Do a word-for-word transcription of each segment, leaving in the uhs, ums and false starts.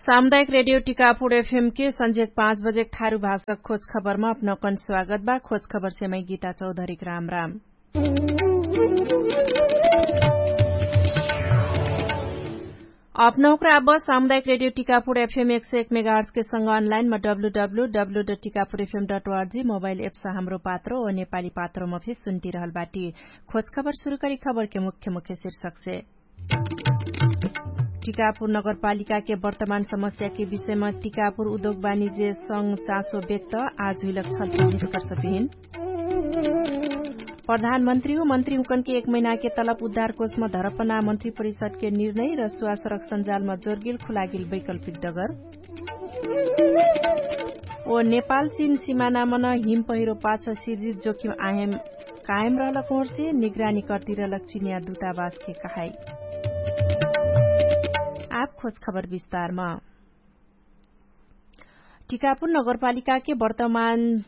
सामुदायिक रेडियो टिकापुर एफएम के संझेक पाँच बजेक ठारु भाषक खोज खबरमा अपनौकन स्वागत बा। खोज खबर सेमै गीता चौधरीक राम राम। अपनौकरा अब सामुदायिक रेडियो टिकापुर एफएम एक सय एक मेगाहर्सके संग अनलाइनमा W W W dot Tikapur एफएम डट अर्जी मोबाइल एप्स हाम्रो पात्रो ओ नेपाली पात्रोमा फे सुन्टिरहल बाटी। खोज खबर सुरु करी खबरके मुख्य मुख्य शीर्षकसे। टिकापुर नगरपालिकाके वर्तमान समस्याके विषयमा टिकापुर उद्योग वाणिज्य संग चासो व्यक्त। आज हुइलक छलफल निष्कर्ष बिहिन। प्रधानमन्त्री हो मन्त्री हुकनके एक महिनाके तलब उद्धार कोषमा धरपना मन्त्री परिषदके निर्णय र सुवासरक सञ्जालमा जोरगिल खुलागिल वैकल्पिक डगर। ओ नेपाल चिन सिमानामन हिम पहिरो पाछ सिर्जित जोखिम आयम कायम रहलक होर्से निगरानी कर्तिरलक चिनिया दुतावासके कहाई। आप खोज खबर विस्तारमा। टिकापुर नगरपालिकाके वर्तमान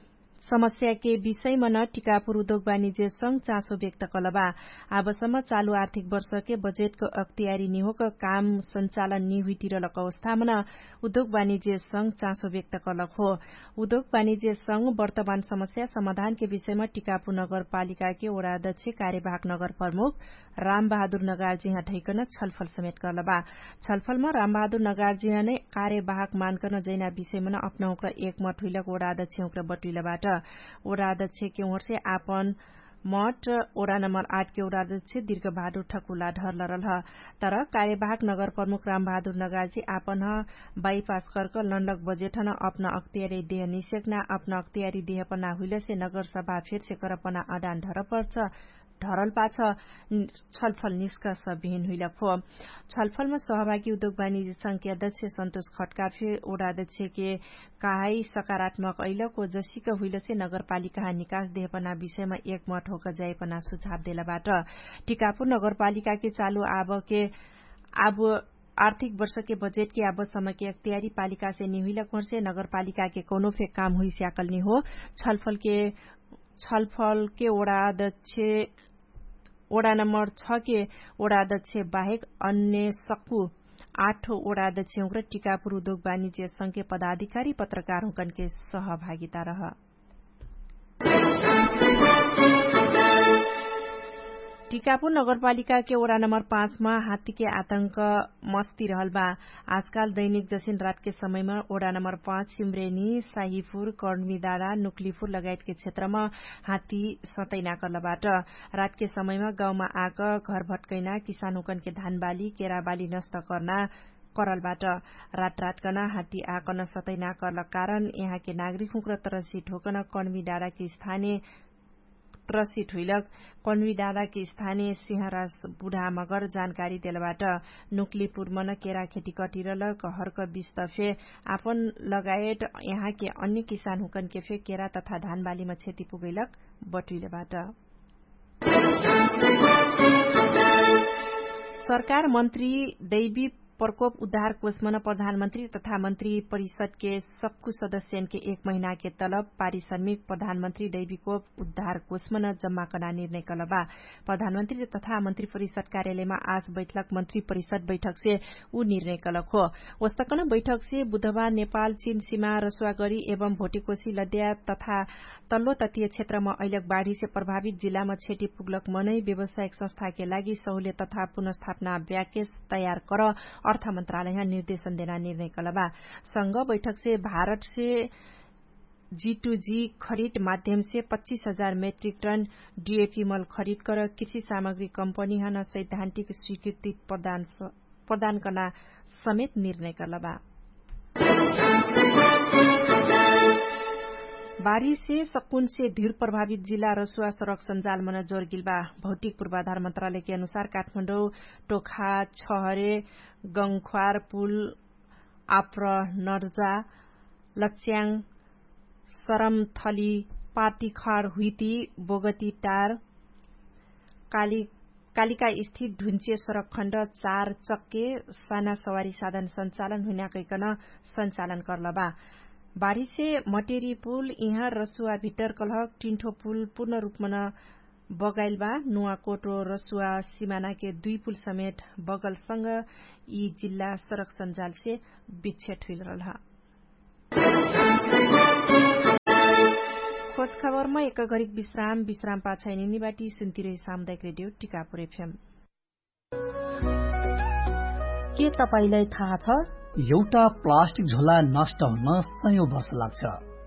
समस्याके विषयमन टिकापुर उद्योग वाणिज्य संग चासो व्यक्त कलबा। आबसम्म चालु आर्थिक वर्षके बजेटक अक्तियारी निहोक काम सञ्चालन निहुइटिरलक अवस्थामन उद्योग वाणिज्य संग चासो व्यक्त कलक हो। उद्योग वाणिज्य संग वर्तमान समस्या समाधानके विषयमा टिकापुर नगरपालिकाके ओडादक्ष कार्यवाहक नगर प्रमुख रामबहादुर नगार्जिहा ढैकन छलफल समेट कर्लबा। छलफलमा रामबहादुर नगार्जिहा नै कार्यवाहक मानकन जैना विषयमन अपनहुँक्र एक मठ हुइलक ओडादक्ष हुँक्र बटुइलबाट। ओडादक्ष केहुँर्से आपन मठ ओडा नम्बर आठ के ओडादक्ष दिर्घ भादुर ठकुला ढर्ल रल्ह। तर कार्यवाहक नगर प्रमुख रामबहादुर नगार्जी आपन ह बाइपास कर्क लन्डक बजेठन अपना अक्तियारी देह निसेक्ना अपना अक्तियारी देह पना हुइलसे नगर सभा फेर्से करपना अडान ढरपर्छ। ढरल पाछ छलफल निष्कर्ष बिहिन हुइलक हो। छलफलमा सहभागी उद्योग वाणिज्य संघके अध्यक्ष सन्तोष खट्कार फे ओडादक्ष के कहाई सकारात्मक अइलक हो जसिक हुइलसे नगरपालिकाहा निकास देहपना विषयमा एक मठ होक जाइपना सुझाव देलबाट। टिकापुर नगरपालिकाके चालु आबके आब आर्थिक वर्षके बजेटके आब समयके अक्तियारी पालिकासे निहुइलक होर्से नगरपालिकाके कौनो फे काम हुइस्याकल निहो। छलफलके छलफलके ओडादक्ष ओडा नम्बर छ के ओडा अध्यक्ष बाहेक अन्य सक्कु आठ ओडा अध्यक्ष हुँक्र टिकापुर उद्योग वाणिज्य संघके पदाधिकारी पत्रकार हुँकनके सहभागिता रह। टिकापुर नगरपालिकाके ओडा नम्बर पाँचमा हात्तीके आतंक मस्ती रहल बा। आजकाल दैनिक जसिन रातके समयमा ओडा नम्बर पाँच सिम्रेनी साहिपुर कर्णविदाडा नुक्लिपुर लगायतके क्षेत्रमा हात्ती सतैना कर्लबाट। रातके समयमा गाउँमा आक घर भट्कैना किसानहुँकनके धानबाली केराबाली नष्ट कर्ना करलबाट। रातरातकन हात्ती आकन सतैना कर्लक कारण यहाँके नागरिकहुँक्र तरसिट होकन कर्णविदाडाके स्थाने प्रसित हुइलक कन्विदादाके स्थाने सिंहरास बुढामगर जानकारी देलबाट। नुक्लिपुरमन केरा खेती कटिरलक हर्क बिस्त फे आपन लगायत यहाँके अन्य किसानहुँकनके फे केरा तथा धानबालीमा क्षति पुगैलक बटुइलबाट। सरकार मन्त्री दैवी प्रकोप उद्धार कोषमन प्रधानमन्त्री तथा मन्त्री परिषदके सक्कु सदस्यनके एक महिनाके तलब पारिश्रमिक प्रधानमन्त्री दैवीकोप उद्धार कोषमन जम्मा कर्ना निर्णय कलबा। प्रधानमन्त्री तथा मन्त्री परिषद कार्यालयमा आज बैठलक मन्त्री परिषद बैठकसे उ निर्णय कलक हो। ओस्तकन बैठकसे बुधबार नेपाल चिन सिमा रसुवागरी एवं भोटेकोशी लद्या तथा तल्लो तत्तीय क्षेत्रमा अइलक बाढीसे प्रभावित जिल्लामा क्षति पुग्लक मनै व्यवसायिक संस्थाके लागि सहुले तथा पुनर्स्थापना ब्याकेज तयार कर अर्थ मन्त्रालयहा निर्देशन देना निर्णय कलबा। संग बैठकसे भारतसे जी टू जी खरिद माध्यमसे पच्चिस हजार मेट्रिक टन डिएपी मल खरिद कर कृषि सामग्री कम्पनीहन सैद्धान्तिक स्वीकृति प्रदान करना समेत निर्णय कर्लबा। बारिसे सकुनसे धिर प्रभावित जिल्ला रसुवा सरक सञ्जालमन जोरगिलबा। भौतिक पुर्वाधार मन्त्रालयके अनुसार काठमाडौँ टोखा छहरे गङ्ख्वार पुल आप्र नर्जा लच्याङ सरमथली पार्टीखर हुइती बोगती टार कालिका स्थित ढुन्चे सरकखण्ड चार चक्के साना सवारी साधन सञ्चालन हुइनाकैकन सञ्चालन कर्लबा। बारिसे मटेरी पुल इहाँ रसुवा भित्तर कलहक टिन्ठो पुल पूर्ण रूपमन बगाइलबा नुवाकोटो रसुवा सिमानाके दुई पुल समेट बगलसँग यि जिल्ला सडक सन्जालसे बिच्छेट हुइल रहलह। खोजखबरमा एक घरिक विश्राम विश्राम पाछाइनिनी बाटी सुन्तिरहे सामुदायिक रेडियो टिकापुर एफएम। के तपाईंलाई थाहा छ? एउटा प्लास्टिक झोला नष्ट हुन सयौं वर्ष लाग्छ।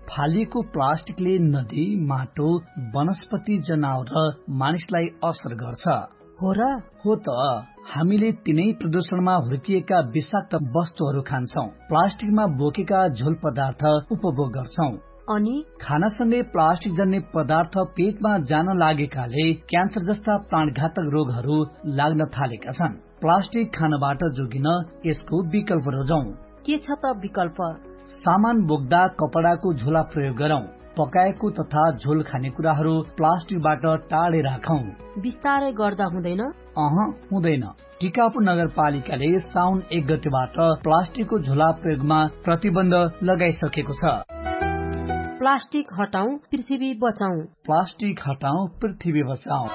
फालिएको प्लास्टिकले नदी, माटो, वनस्पति, जनावर र मानिसलाई असर गर्छ। हो र? हो त। हामीले तिनै प्रदूषणमा हुर्किएका विषाक्त वस्तुहरू खान्छौं, प्लास्टिकमा बोकेका झोल पदार्थ उपभोग गर्छौं। अनि खानासँगै प्लास्टिक जन्ने पदार्थ पेटमा जान लागेकाले क्यान्सर जस्ता प्राणघातक रोगहरू लाग्न थालेका छन्। प्लास्टिक खानबाट जोगिन यसको विकल्प रोजौं। के छ त विकल्प? सामान बोक्दा कपडाको झोला प्रयोग गरौं। पकाएको तथा झोल खाने कुराहरू प्लास्टिकबाट टाढे राखौं। बिस्तारै गर्दा हुँदैन? अह, हुँदैन। टिकापुर नगरपालिकाले साउन एक गतेबाट प्लास्टिकको झोला प्रयोगमा प्रतिबन्ध लगाइसकेको छ। प्लास्टिक हटाउँ, पृथ्वी बचाउँ। प्लास्टिक हटाउँ, पृथ्वी बचाउँ।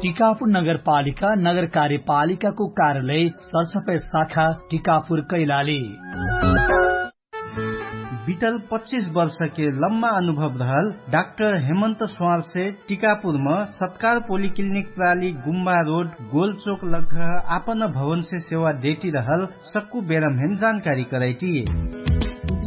टिकापुर नगरपालिका नगर कार्यपालिकाको कार्यालय सरसफाइ शाखा टिकापुर कैलाली। बितल पच्चिस वर्षके लम्मा अनुभव रहल डाक्टर हेमन्त स्वारसे टिकापुरम सत्कार पोलिक्लिनिक प्राली गुम्बा रोड गोलचोक लग्घ आपन भवनसे सेवा देटी रहल सक्कु बेरम्हेन जानकारी करैटी।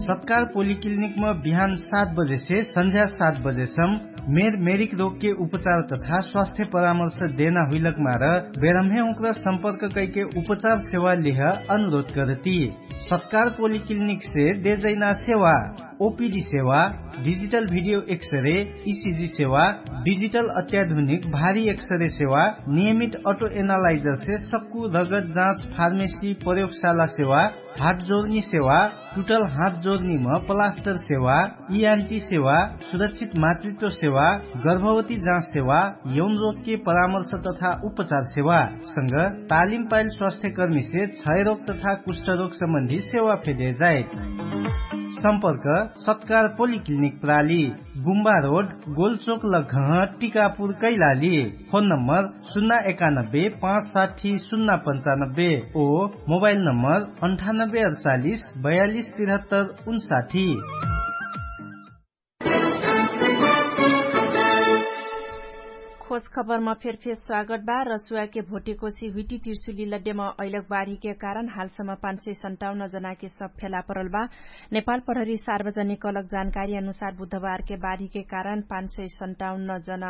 सत्कार पोलिक्लिनिकम बिहान सात बजेसे सन्झ्या सात बजेसम मेर मेरिक रोगके उपचार तथा स्वास्थ्य परामर्श देना हुइलक मार बेरम्हे उक्र सम्पर्क कैके उपचार सेवा लिह अनुरोध करती। सत्कार पोलिक्लिनिकसे देजैना सेवा ओपिडी सेवा, डिजिटल भिडियो एक्सरे, इसिजी सेवा, डिजिटल अत्याधुनिक भारी एक्सरे सेवा, नियमित अटो एनालाइजरसे सक्कु रगत जाँच फार्मेसी प्रयोगशाला सेवा, हात जोर्नी सेवा, टुटल हात जोर्नीम प्लास्टर सेवा, इआन्टी सेवा, सुरक्षित मातृत्व सेवा, गर्भवती जाँच सेवा, यौन रोगके परामर्श तथा उपचार सेवा संग तालिम पाइल स्वास्थ्यकर्मीसे क्षयरोग तथा कुष्ठरोग सम्बन्धी सेवा फेदे जाए। सम्पर्क सत्कार पोलिक्लिनिक प्राली, गुम्बा रोड, गोलचोक लघह, टिकापुर कैलाली। फोन नम्बर सुन्ना एकानब्बे पाँच साठी सुन्ना पन्चानब्बे ओ मोबाइल नम्बर अन्ठानब्बे अडचालिस बयालिस तिरहत्तर उन्साठी। खोज खबरमा फेरफेर स्वागत बा। रसुवाके भोटेकोसी हुइटी तिर्सुली लड्डेमा अइलक बाढीके कारण हालसम्म पाँच सय सन्ताउन्न जनाके सब फेला परल बा। नेपाल प्रहरी सार्वजनिक कलक जानकारी अनुसार बुधबारके बाढीके कारण पाँच सय सन्ताउन्न जन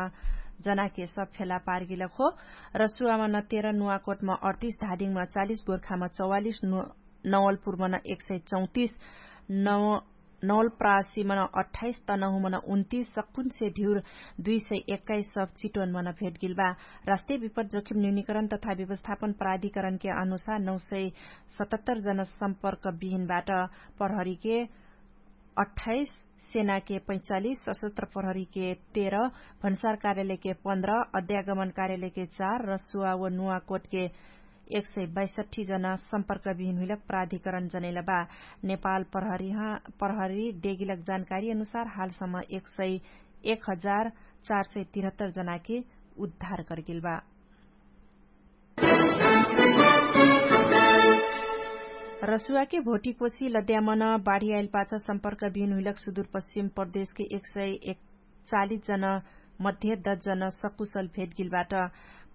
जनाके सब फेला पारगिलक हो। रसुवामा न तेह्र, नुवाकोटमा अडतिस, धादिङमा चालिस, गोर्खामा चौवालिस, नवलपुरमा न एक सय चौतिस, नवलप्रासीमा न अठाइस, तनहुमा न उन्तिस, सक्कुन्से ढिउर दुई सय एक्काइस सब चिटोनमा न भेटगिल बा। राष्ट्रिय विपद जोखिम न्यूनिकरण तथा व्यवस्थापन प्राधिकरणके अनुसार नौ सय सतहत्तर जन सम्पर्क बिहिनबाट प्रहरीके अठाइस, सेनाके पैचालिस, सशस्त्र प्रहरीके तेह्र, भन्सार कार्यालयके पन्ध्र, अध्यागमन कार्यालयके चार, रसुवा व नुवाकोटके एक सय बैसठी जना सम्पर्क बिहिन हुइलक प्राधिकरण जनैल बा। नेपाल प्रहरी डेगिलक जानकारी अनुसार हालसम्म एक सय एक हजार चार सय तिरहत्तर जनाके उद्धार करगेल बा। रसुवाके भोटिकोसी लद्यामन बाढियाइल पाछ सम्पर्क बिहिन हुइलक सुदुर पश्चिम प्रदेशके एक सय चालिस जना मध्ये दस जना सकुशल भेटगिलबाट।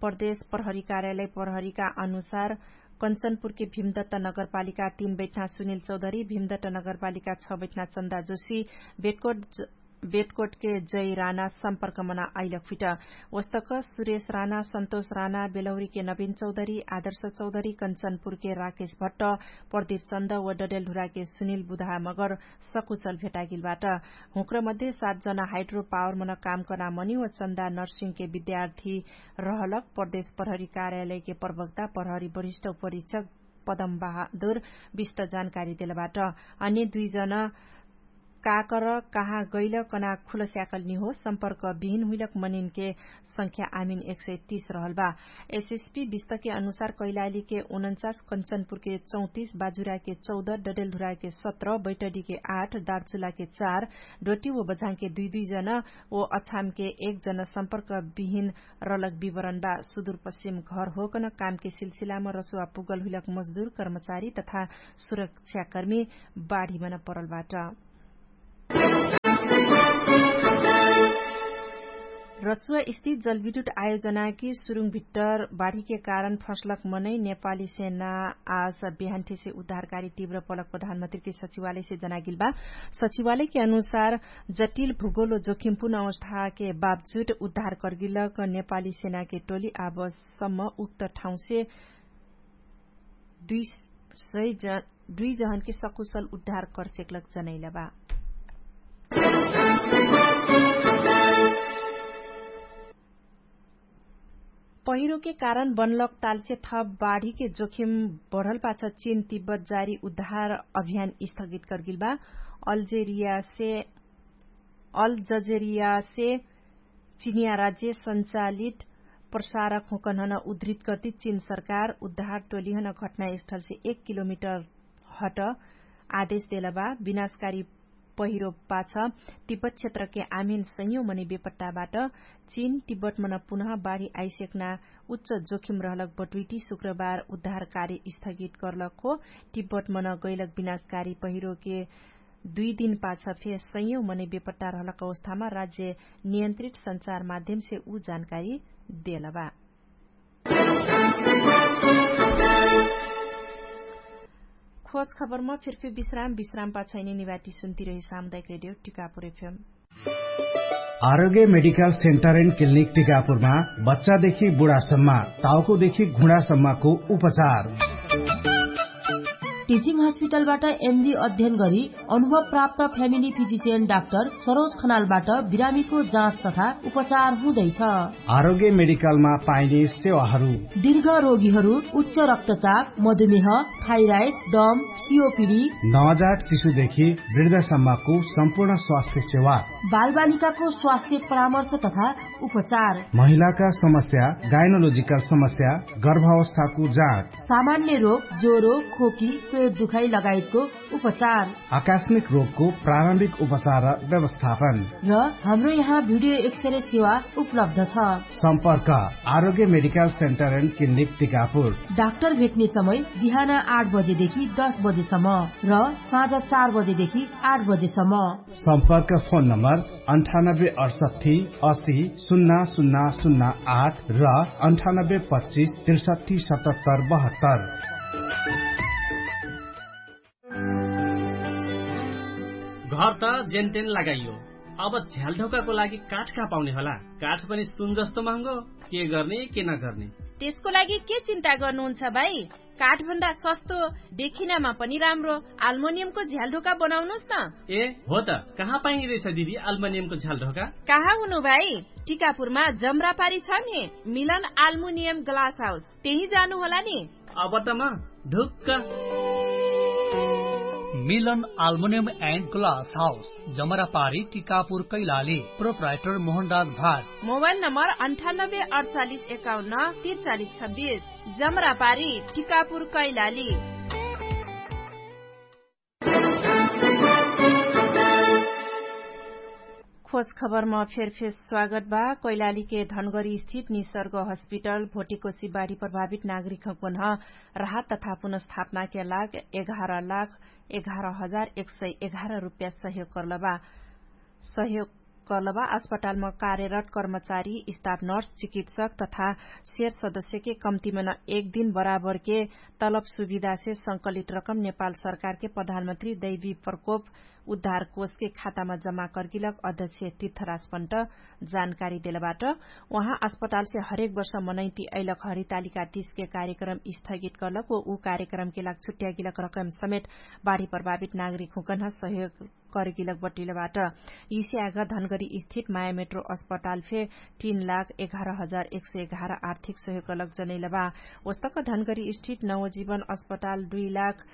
प्रदेश प्रहरी कार्यालय प्रहरीका अनुसार कञ्चनपुरके भिमदत्त नगरपालिका तीन बैठना सुनिल चौधरी, भिमदत्त नगरपालिका छ बैठना चन्दा जोशी, बेटकोट बेटकोटके जय राना सम्पर्कमना आइलक फिट। वस्तक सुरेश राना, सन्तोष राना, बेलौरीके नवीन चौधरी, आदर्श चौधरी, कञ्चनपुरके राकेश भट्ट, प्रदीप चन्द व डडेलढुराके सुनिल बुधा मगर सकुशल भेटागिलबाट। हुँक्रमध्ये सात जना हाइड्रो पावरमन काम कर्ना मनी व चन्दा नर्सिङके विद्यार्थी रहलक प्रदेश प्रहरी कार्यालयके प्रवक्ता प्रहरी वरिष्ठ उपरीक्षक पदम बहादुर विष्ट जानकारी देलबाट। अनि दुई जना काकर कहाँ गैल कना खुलस्याकल निहो सम्पर्क बिहिन हुइलक मनिनके संख्या आमिन एक सय तीस रहल बा। एसएसपी विस्तके अनुसार कैलालीके उनन्चास, कञ्चनपुरके चौतिस, बाजुराके चौध, डडेलधुराके सत्र, बैटडीके आठ, दार्चुलाके चार, डोटी व बझाङके दुई दुई जना व अछामके एक जना सम्पर्क बिहिन रलक विवरण बा। सुदुरपश्चिम घर होकन कामके सिलसिलामा रसुवा पुगल हुइलक मजदुर कर्मचारी तथा सुरक्षाकर्मी बाढीमन परल बाट। रसुवा स्थित जलविद्युत आयोजनाकी सुरुङ भित्तर बाढीके कारण फसलक मनै नेपाली सेना आज बिहान्ठेसे उद्धारकारी तीव्र पलक प्रधानमन्त्रीकी सचिवालयसे जनागिल बा। सचिवालयके अनुसार जटिल भूगोल जोखिमपूर्ण अवस्थाके बावजुद उद्धार कर्गिलक नेपाली सेनाके टोली आबसम्म उक्त ठाउँसे दुई सय जन दुई जहनके सकुशल उद्धार करसेकलक जनैला बा। पहिरोके कारण बनलक तालसे थप बाढीके जोखिम बढल पाछ चिन तिब्बत जारी उद्धार अभियान स्थगित करगिल बा। अल्जेरियासे अल्जजेरियासे चिनिया राज्य सञ्चालित प्रसारक हुँकन्हन उद्धृत कर्ति चिन सरकार उद्धार टोलिहन घटनास्थलसे एक किलोमिटर हट आदेश देलबा। विनाशकारी पहिरो पाछ तिब्बत क्षेत्रके आमिन सयौं मनै बेपट्टाबाट चिन तिब्बतमन पुनः बाढी आइसेक्ना उच्च जोखिम रहलक बटुइटी शुक्रबार उद्धार कार्य स्थगित कर्लक हो। तिब्बतमन गैलक विनाशकारी पहिरोके दुई दिन पाछ फे सयौं मनै बेपट्टा रहलक अवस्थामा राज्य नियन्त्रित सञ्चार माध्यमसे उ जानकारी देलबा। खोज खबरमा फिरफिर विश्राम विश्राम पाछैनी निवाटी सुन्ती रहे सामुदायिक रेडियो टिकापुर एफएम। आरोग्य मेडिकल सेन्टर एन्ड क्लिनिक टिकापुरमा बच्चादेखि बुढासम्म, ताउकोदेखि घुँडासम्मको उपचार। टिचिङ हस्पिटलबाट एमडी अध्ययन गरी अनुभव प्राप्त फ्यामिली फिजिसियन डाक्टर सरोज खनालबाट बिरामीको जाँच तथा उपचार हुँदैछ। आरोग्य मेडिकलमा पाइने सेवाहरू। दीर्घ रोगीहरू उच्च रक्तचाप, मधुमेह, थाइराइड, दम, सिओपिडी, नवजात शिशुदेखि वृद्धसम्मको सम्पूर्ण स्वास्थ्य सेवा। बालबालिकाको स्वास्थ्य परामर्श तथा उपचार। महिलाका समस्या, गाइनोलोजिकल समस्या, गर्भावस्थाको जाँच। सामान्य रोग, ज्वरो, खोकी, पेट दुखाइ लगायतको उपचार। आकस्मिक रोगको प्रारम्भिक उपचार र व्यवस्थापन। र हाम्रो यहाँ भिडियो एक्सरे सेवा उपलब्ध छ। सम्पर्क आरोग्य medical centre and clinic Tikapur. Doctor भेट्ने समय बिहान आठ बजेदेखि दस बजेसम्म र साँझ चार बजेदेखि आठ बजेसम्म। सम्पर्क फोन नम्बर अन्ठानब्बे अठसट्ठी असी सुन्ना सुन्ना सुन्ना आठ र अन्ठानब्बे पच्चिस त्रिसट्ठी सतहत्तर बहत्तर। घर त जेनतेन लगाइयो, अब झ्यालढोकाको लागि काठ कहाँ पाउने होला? काठ पनि सुन जस्तो महँगो। के गर्ने के नगर्ने? त्यसको लागि के चिन्ता गर्नुहुन्छ भाइ? काठभन्दा सस्तो, देखिनमा पनि राम्रो आल्मोनियमको झ्यालढोका बनाउनुस् न। ए हो त, कहाँ पाइने रहेछ दिदी आल्मोनियमको झ्यालढोका? कहाँ हुनु भाइ? टिकापुरमा जमरापारी छ नि, मिलन आल्मुनियम ग्लास हाउस, त्यही जानु होला नि। अब त म ढुक्क। मिलन आल्मुनियम एन्ड ग्लास हाउस, जमरापारी, टिकापुर, कैलाली। प्रोप्राइटर मोहनराज भाट। मोबाइल नम्बर अन्ठानब्बे अडचालिस एकाउन्न तिरचालिस छब्बिस। जमरापारी, टिकापुर, कैलाली। खोज खबरमा फेरफेर स्वागत बा। कैलालीके धनगरी स्थित निसर्ग हस्पिटल भोटिकोसी बाढी प्रभावित नागरिकको न राहत तथा पुनर्स्थापनाके लाग एघार लाख एघार हजार एक सय एघार रुप्या सहयोग कर्लबा। सहयोग कर्लबा अस्पतालमा कार्यरत कर्मचारी, स्टाफ नर्स, चिकित्सक तथा सेर सदस्यके कम्तिमन एक दिन बराबरके तलब सुविधासे संकलित रकम नेपाल सरकारके प्रधानमन्त्री दैवी प्रकोप उद्धार कोषके खातामा जमा कर्गिलक अध्यक्ष तीर्थराज पन्त जानकारी देलबाट। उहाँ अस्पतालसे हरेक वर्ष मनैति अइलक हरितालिका तीसके कार्यक्रम स्थगित कर्लक व उ कार्यक्रमके लाग छुट्यागिलक रकम समेत बाढी प्रभावित नागरिक हुँकन सहयोग करगिलक बटुइलबाट। यिसे आग धनगरी स्थित मायामेट्रो अस्पताल फे तीन लाख एघार हजार एक सय एघार आर्थिक सहयोग अलग जनैलबा। ओस्तक धनगरी स्थित नवजीवन अस्पताल दुई लाख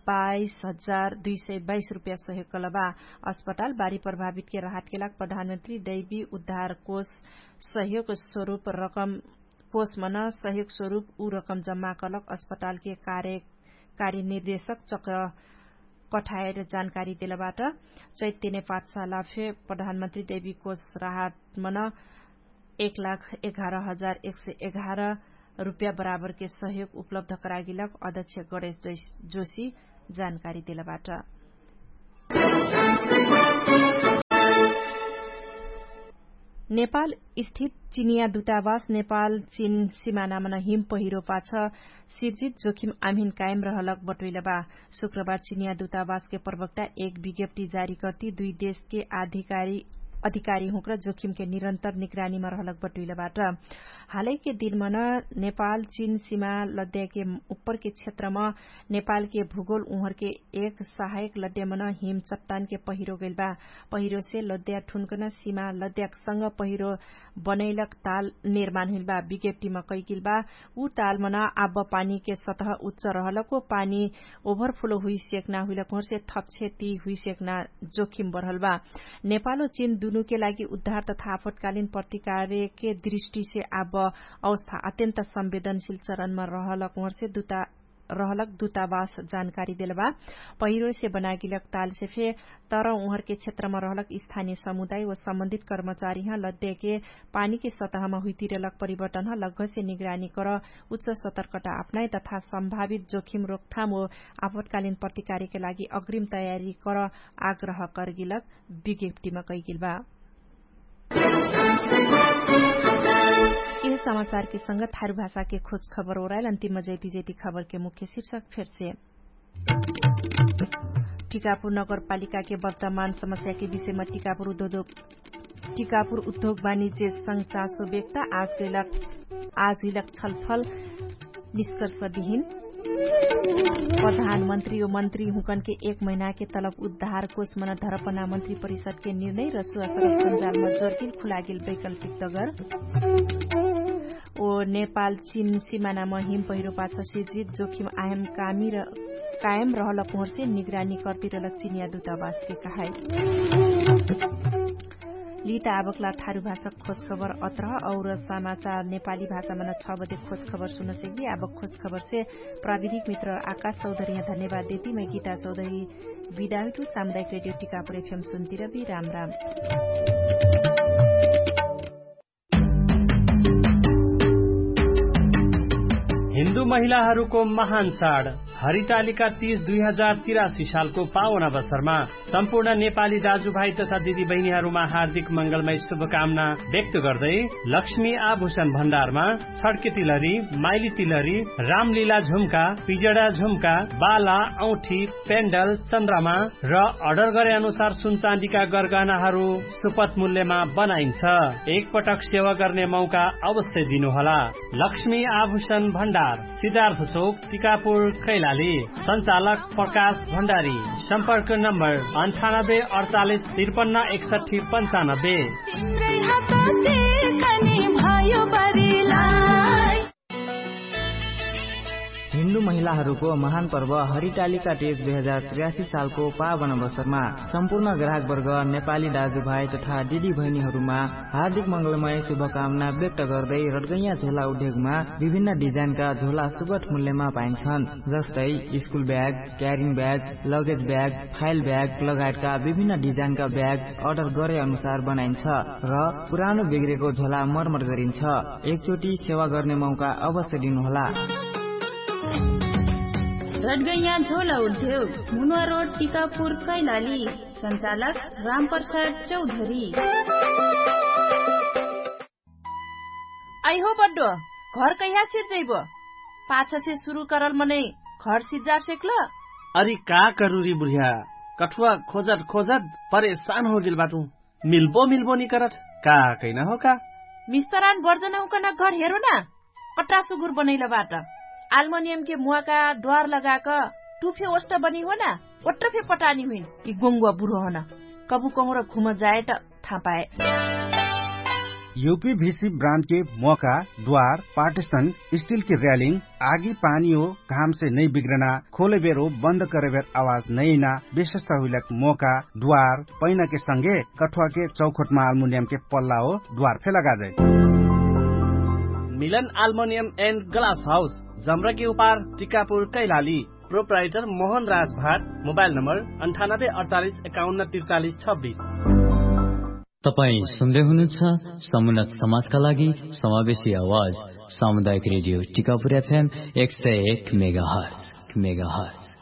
बाइस हजार दुई सय बाइस रुपैया सहयोग कलबा। अस्पताल बारी प्रभावितके राहतके लाग प्रधानमन्त्री दैवी उद्धार कोष सहयोग स्वरूप रकम कोष मन सहयोग स्वरूप उ रकम जम्मा कलक अस्पतालके कार्य कार्य निर्देशक चक्र कठाएर जानकारी देलबाट। चैत्यने पाठशाला फे प्रधानमन्त्री दैवी कोष राहत मन एक लाख एघार हजार एक सय एघार रुपैया बराबरके सहयोग उपलब्ध करागिलक अध्यक्ष गणेश जोशी जानकारी देलबाट। नेपाल स्थित चिनिया दुतावास नेपाल चिन सिमानामन हिम पहिरो पाछ सिर्जित जोखिम आम्हिन कायम रहलक बटोइलबा। शुक्रबार चिनिया दुतावासके प्रवक्ता एक विज्ञप्ति जारी कर्ति दुई देशके अधिकारी अधिकारी हुँक्र जोखिमके निरन्तर निगरानीमा रहलक बटोइलबाट। हालैके दिनमन नेपाल चिन सिमा लद्याके उपरके क्षेत्रम नेपालके भूगोल उहरके एक सहायक लद्यामन हिम चट्टानके पहिरो गैलबा। पहिरोसे लद्या ठुनकन सिमा लद्याकसँग पहिरो बनैलक ताल निर्माण हुइलबा विज्ञप्तिम कैकिलबा। उ तालमन आब पानीके सतह उच्च रहलको पानी ओभर फुलो हुइसेकना हुइलक हुँरसे थप क्षति हुइसेकना जोखिम बढलबा। नेपालो चिन दुनुके लागि उद्धार तथा आपतकालीन प्रतिकार्यके दृष्टिसे आब अवस्था अत्यन्त संवेदनशील चरणमा रहलक हुँरसे दुता रहलक दुतावास जानकारी देलबा। पहिरोसे बनागिलक तालसे फे तर उहरके क्षेत्रमा रहलक स्थानीय समुदाय व सम्बन्धित कर्मचारीह लद्याके पानीके सतहमा हुइतिरलक परिवर्तनह लग्घसे निगरानी कर उच्च सतर्कता अपनाए तथा सम्भावित जोखिम रोकथाम व आपतकालीन प्रतिकार्यके लागि अग्रिम तयारी कर आग्रह करगिलक विज्ञप्तिमा कैगिलबा। यह समाचारके संग थारु भाषाके खोज खबर ओराइल अन्तिम जैति जैति खबरके मुख्य शिर्षक फेरसे। टिकापुर नगरपालिकाके वर्तमान समस्याके विषयमा टिकापुर उद्योग टिकापुर उद्योग वाणिज्य संग चासो व्यक्त। आज हुइलक छलफल निष्कर्ष विहिन। प्रधानमन्त्री ओ मन्त्री हुँकनके एक महिनाके तलब उद्धार कोष मन धरपना मन्त्री परिषदके निर्णय र सुवासरक सञ्जालमा जोरकिल खुलागेल वैकल्पिक दगर। ओ नेपाल चिन सिमानामा हिम पहिरो पाछ सिर्जित जोखिम आयम कामी र कायम रहलक हुँरसे निगरानी कर्तिरलक चिनिया दुतावासके कहाई। लिता आबकला थारु भाषक खोजखबर अत्रह और समाचार नेपाली भाषामा न छ बजे खोजखबर सुनसैली। आबक खोजखबरसे प्राविधिक मित्र आकाश चौधरी यहाँ धन्यवाद देती मै गीता चौधरी बिदा हुइटु। सामुदायिक रेडियो टिकापुर एफएम सुन्तिरबी राम राम। हिन्दू महिलाहरूको महान चाड हरितालिका तीस दुई हजार तिरासी सालको पावन अवसरमा सम्पूर्ण नेपाली दाजुभाइ तथा दिदीबहिनीहरूमा हार्दिक मंगलमय शुभकामना व्यक्त गर्दै लक्ष्मी आभूषण भण्डारमा छड्के तिलहरी, माइली तिलहरी, रामलीला झुम्का, पिजडा झुम्का, बाला, औठी, पेन्डल, चन्द्रमा र अर्डर गरे अनुसार सुनचाँदीका गरगहनाहरू सुपथ मूल्यमा बनाइन्छ। एकपटक सेवा गर्ने मौका अवश्य दिनुहोला। लक्ष्मी आभूषण भण्डार, सिद्धार्थ चोक, टिकापुर, कैलाली। सञ्चालक प्रकाश भण्डारी। सम्पर्क नम्बर अन्ठानब्बे अडचालिस त्रिपन्न एकसट्ठी पन्चानब्बे। तिम्रै हात टेकनी भयो बरिलाई। हिन्दू महिलाहरूको महान पर्व हरितालिका तीज दुई हजार त्रियासी सालको पावन अवसरमा सम्पूर्ण ग्राहकवर्ग, नेपाली दाजुभाइ तथा दिदीबहिनीहरूमा हार्दिक मंगलमय शुभकामना व्यक्त गर्दै रडगैया झोला उद्योगमा विभिन्न डिजाइनका झोला सुगट मूल्यमा पाइन्छन्। जस्तै school bag, carrying bag, luggage bag, file bag लगायतका विभिन्न डिजाइनका ब्याग अर्डर गरे अनुसार बनाइन्छ र पुरानो बिग्रेको झोला मर्मत गरिन्छ। एकचोटि सेवा गर्ने मौका अवश्य दिनुहोला। रडगैया झोला उद्योग, मुनुवा रोड, टिकापुर, कैलाली। सञ्चालक रामप्रसाद चौधरी। आइहो बड्डो, घर कैहा सिर जैबो? पाछसे सुरु करल मनै घर सिज्जार सेक्ल? अरि का करुरी बुढिया, कठुवा खोजत खोजत परेशान होगेल बाटु। मिल्बो मिल्बो निकरत, का कैना हो का? मिस्तरान बर्जन हुकन घर हेरो ना। अट्रा सुगुर बनैल बाट। आल्मोनियमके मुवाका द्वार लगाक टु फे ओष्ट बनी होना। ओट्ट फे पटानी हुइन कि गोङ्गुवा बुरो होना। कबु कहुँर घुम जाए त थापाए। युपी भिसी ब्रान्डके मोका, द्वार, पार्टिसन, स्टिलके र्यालिङ, आगी पानी हो घामसे नै बिग्रना, खोलेबेर हो बन्द करेबेर आवाज नैना, विशेषता हुइलक मोका, द्वार, पैनाके संगे कठुवाके चौखोटमा आल्मुनियमके पल्ला हो द्वार फे लगाजै। मिलन आल्मोनियम एन्ड ग्लास हाउस, जमराकी उपार, टिकापुर, कैलाली। प्रोप्राइटर मोहन राज भाट। मोबाइल नम्बर अन्ठानब्बे अडचालिस एकाउन्न त्रिचालिस छब्बिस। तपाईं सुन्दै हुनुहुन्छ समुन्नत समाजका लागि समावेशी आवाज, सामुदायिक रेडियो टिकापुर एफएम एक सय एक मेगाहर्ज।